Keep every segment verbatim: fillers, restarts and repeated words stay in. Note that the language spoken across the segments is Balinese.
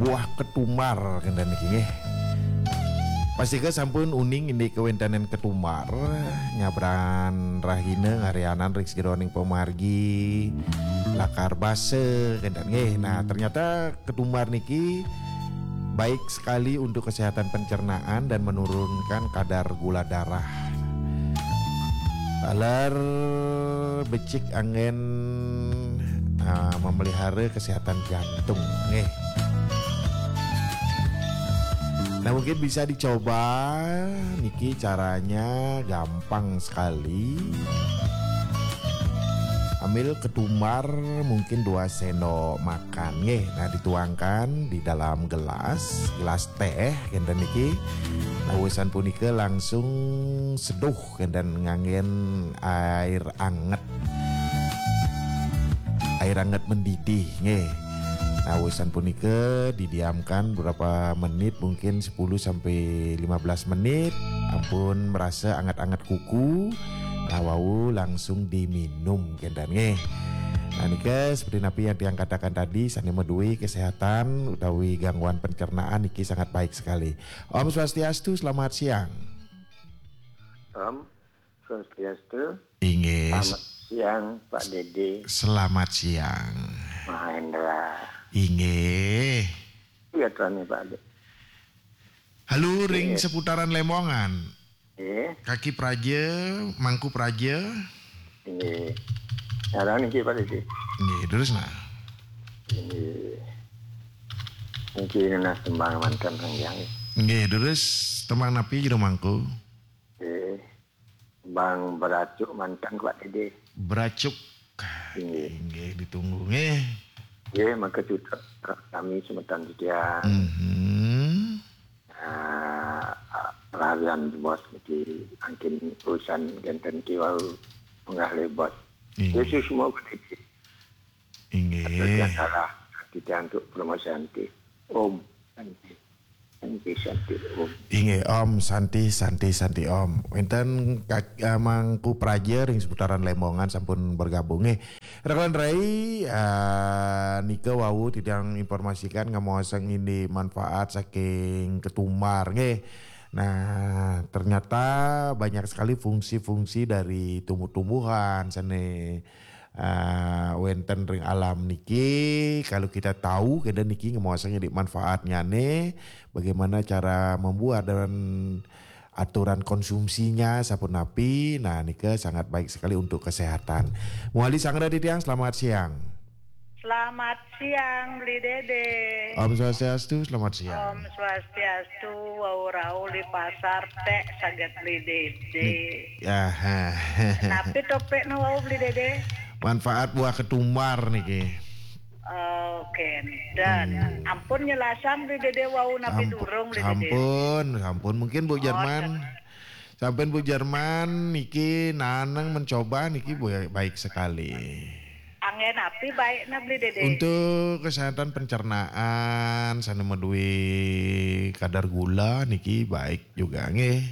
Buah ketumbar kenten niki nggih. Pastika sampun uning indik kawéntenan ketumbar, nyabran rahina ngarianan ring sajeroning pamargi lakar basa kenten nggih. Nah, ternyata ketumbar niki baik sekali untuk kesehatan pencernaan dan menurunkan kadar gula darah. Taler becik anggén, ah, memelihara kesehatan jantung nggih. Nah, mungkin bisa dicoba niki, caranya gampang sekali. Ambil ketumbar mungkin dua sendok makan nggih. Nah, dituangkan di dalam gelas, gelas teh kenten niki. Nah, wusan punika langsung seduh kenten nganggén air anget. Air anget mendidih nggih. Nah, wusan punika didiamkan beberapa menit, mungkin sepuluh sampai lima belas menit. Ampun merasa anget-anget kuku, nah, wau langsung diminum kenten nggih. Nah, nika seperti napi yang tiang katakan tadi, sané madué kesehatan utawi gangguan pencernaan niki sangat baik sekali. Om Swastiastu, selamat siang. Om Swastiastu. Inggih. Selamat siang, Pak Dede. Selamat siang. Mahendra. Inggih. Iya, Tuan, Pak Dede. Halo, ring Iya. seputaran Lemongan. Iya. Kaki Praja, Mangku Praja. Inggih. Sekarang niki, Pak Dede. Inggih, terus nah. Inggih. Niki nunas tembang manten, Kang Jang. Inggih, terus tembang napi jero Mangku? Inggih. Tembang Beracuk manten, Pak Dede. Beracuk. Inggih. Inggih, ditunggu nggih. Nggih, mangke cutet kami semeton titiang. Mhm. Ah, larian bos niki angkin urusan kenten niki wau munggah le bos. Inggih. Yesus mau ketitik. Inggih. Atur salah titiang untuk promosi anti. Om Santi. Santi, Santi, Om. Inggih, Om Santi, Santi, Santi, Om. Wénten Kak, eh, Mangku Praja ring seputaran Lemongan sampun bergabung nggih. Rekan rai, eh, nika wau titiang informasikan ngamoosang indik manfaat saking ketumbar nggih. Nah, ternyata banyak sekali fungsi-fungsi dari tumbuh-tumbuhan, sané, eh, wénten ring alam niki. Kalau kita tahu, kita niki ngamoosang indik manfaatnyané, bagaimana cara membuat dan aturan konsumsinya sapunapi. Nah, nika sangat baik sekali untuk kesehatan. Muali sanggra titiang, selamat siang. Selamat siang, Bli Dede. Om Swastiastu, selamat siang. Om Swastiastu, wau rauh di pasar, ték saget Bli Dede. Ni-, aha. Napi topikna wau, Bli Dede? Manfaat buah ketumbar niki. Oh, kenten. Hmm. Ampun nyelasang Bli Dede wau napi Sampu-, durung, Bli Dede? Sampun, sampun. Mungkin Bu Oh, Jerman, sampean Bu Jerman niki naneng mencoba niki bu-, baik sekali. Anggén napi baikna, Bli Dede? Untuk kesehatan pencernaan, sané madué kadar gula niki baik juga nggih.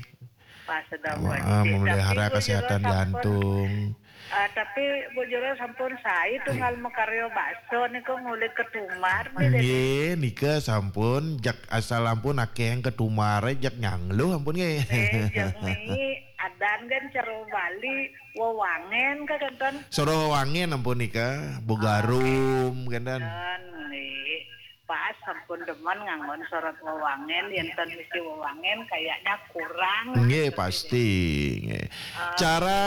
Pas sedang Em, eh, memelihara kesehatan jantung. Ah, tapi Bu Jero sampun saé tunggal makarya bakso niku nguli ketumbar nggih, Dede. Nggih, nika sampun jak asal ampun akéh ketumbar jak nyangluh ampun nggih. Eh, jeng niki adan kan cara Bali wewangén ka kenten. Sora wewangén ampun nika, bogarum kenten. Dan nggih. Pas sampun demen nganggon sorot wewangén, yén ten misi wewangén kayaknya kurang. Nggih, pasti, nggih. Ah. Cara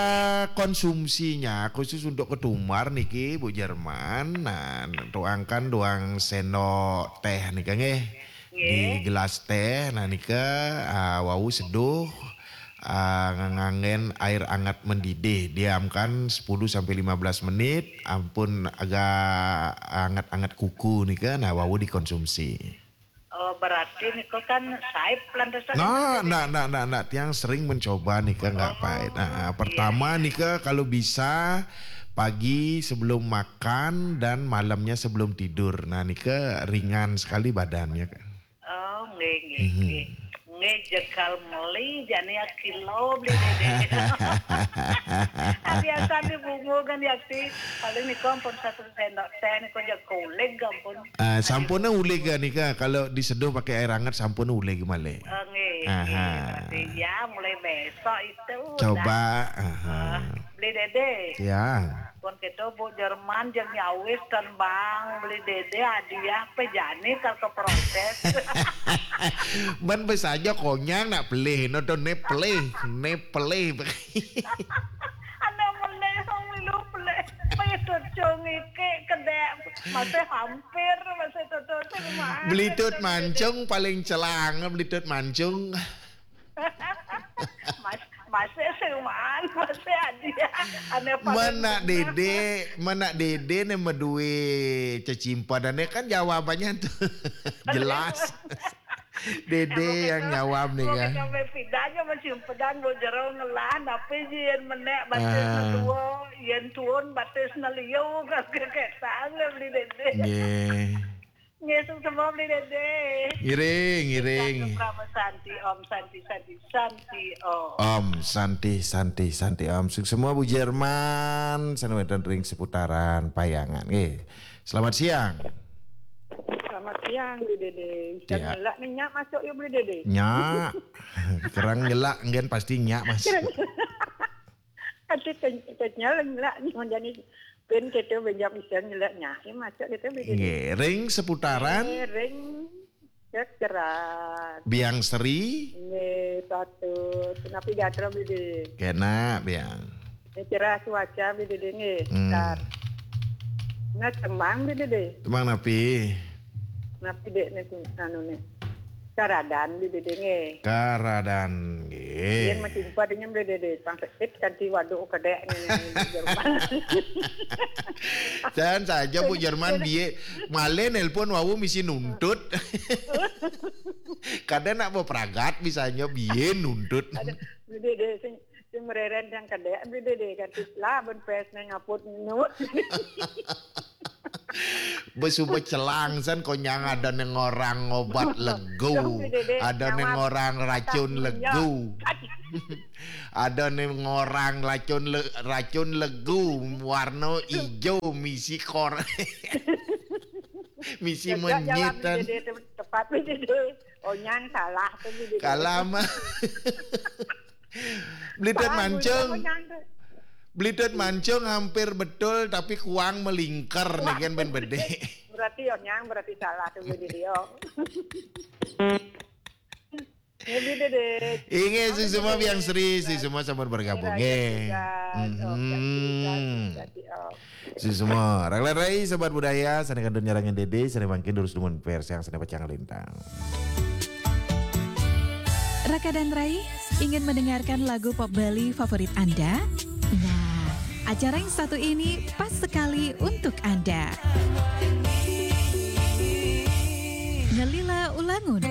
konsumsinya khusus untuk ketumbar niki, Bu Jerman, nah, tuangkan duang sendok téh nika nggih. Nggih. Di gelas téh, nah nika, ah, wau seduh, ah, nganggén air anget mendidih, diamkan sepuluh sampai lima belas menit, ampun agak anget-anget kuku nika, nah wau dikonsumsi. Oh, berarti niku kan saé lantasan Nah, ndak, ndak, ndak, ndak. Tiang sering mencoba nika nggak Oh, pahit. Nah, iya, pertama iya. Nika kalau bisa pagi sebelum makan dan malamnya sebelum tidur. Nah, nika ringan sekali badannya kan. Oh, nggih, nggih, Mhm. nggih. Eh, jegal meli, jani ya kilo beli Dede. Biasa di bungu kan ya, Ti. Paling niku ampun satu sendok teh niku, jaga uleg ampun. Ah, sampun uleg nika, kalau diseduh pakai air hangat sampun uleg malih. Oh, nggih, nggih, Aha. Berarti ya mulai besok itu udah. Coba, aha. Ah, beli Dede. Ya. Pun kita Bu Jerman jeung nyawis tembang beli Dede hadiah pe jani kal keproses. Men bisa aja konyang nak pelih, no to ne pelih, ne pelih. Anak meneh song milu pelih. Payah tucung iki kedek masih hampir, masih tutur sing mah. Belitut mancung paling celang, belitut mancung. Mas, masih sing mah, masih hadiah. Anak paling Menak bener. Dede, menak Dede ne medue cecimpadane kan jawabannya tuh. Jelas. Dede yang nyawab nih kan. Sampai pidanya masih pedang lo jero ngelah, tapi yen menek batis Ah. Dua, yen tuun batis liu, kakek sang beli Dede. Nggih. Nggih, sing semua beli Dede. Ngiring, ngiring. Santi, Om Santi, Santi, Santi, Om. Om Santi, Santi, Santi, Om. Sing semua Bu Jerman, sané wénten ring seputaran Payangan. Nggih. Selamat siang. Selamat siang, Bli Dede. Bisa Ya. Ngelak nih, nyak masuk yuk, Bli Dede. Nyak. Kerang ngelak, nggih pasti nyak masuk. Ati kenyal ngelak nih, menjadi pun kita banyak bisa ngelak nyak. Ini masuk kita, Bli Dede. Nggih, ring seputaran. Eh, ring Ceceran. Biang Sri. Nggih, satu. Napi gatra, Bli Dede? Kena, Biang. Ini cerah cuaca, Bli Dede, nggih. Hmm. Tar. Nah, tembang, Bli Dede. Tembang napi? Napi, Dek, nih, anu, nih. Karadan, Bli Dede, nggih. Karadan, nggih. Yen masih empat ini, Bli Dede. Pang sekit, kanti waduk kedek, nih, nih, nih, Jerman. Jangan saja, Bu Jerman, biye, male nelpon wau misi nuntut. Kada nak bepragat, bisanya biye nuntut. Ada, Bli Dede, sing, sing mereren yang kedek, Bli Dede, kanti lah, ben pes nang apot nu. Besuba celang san, konyang ada neng orang obat legu, Dong, Bli Dede, ada neng nyawat orang racun kata legu. Ada neng orang racun le-, racun legu, warna ijo, misi kor-, misi Tegak jalan menyitan. Bli Dede, te-, tepat, Bli Dede. Onyang salah tuh, Bli Dede. Kalah mah. Beli Dut Paham, Mancung. Bli Dede, Onyang tuh. Beli Dut Mancung hampir betul, tapi kuang melingkar nih kan, ben bede. Berarti Onyang berarti salah tuh, Bli Dede, yo. Ini, Bli Dede. Inggih, si semua Biang Sri, si semua sampun bergabung. Nggih. Mhm. Si semua. Raglan rai, Sobat Budaya, sané kantun nyarengin Dede, sané mangkin durus dumun versi yang sané pacang lintang. Raka dan Rai, ingin mendengarkan lagu pop Bali favorit Anda? Nah, acara yang satu ini pas sekali untuk Anda. Ngelila Ulangun.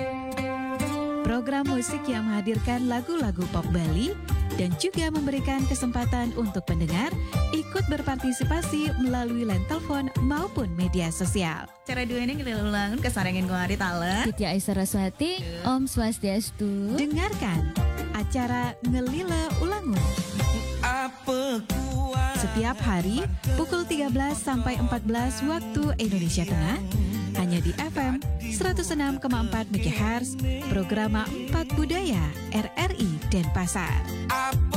Program musik yang menghadirkan lagu-lagu pop Bali dan juga memberikan kesempatan untuk pendengar ikut berpartisipasi melalui line telepon maupun media sosial. Acara dua ini Ngelila Ulangun kasarengin kuari tala. Titi Aisyah Saraswati, Om Swastiastu. Dengarkan acara Ngelila Ulangun. Setiap hari pukul tiga belas sampai empat belas waktu Indonesia Tengah, hanya di F M seratus enam koma empat megahertz, programa Empat Budaya, R R I Denpasar.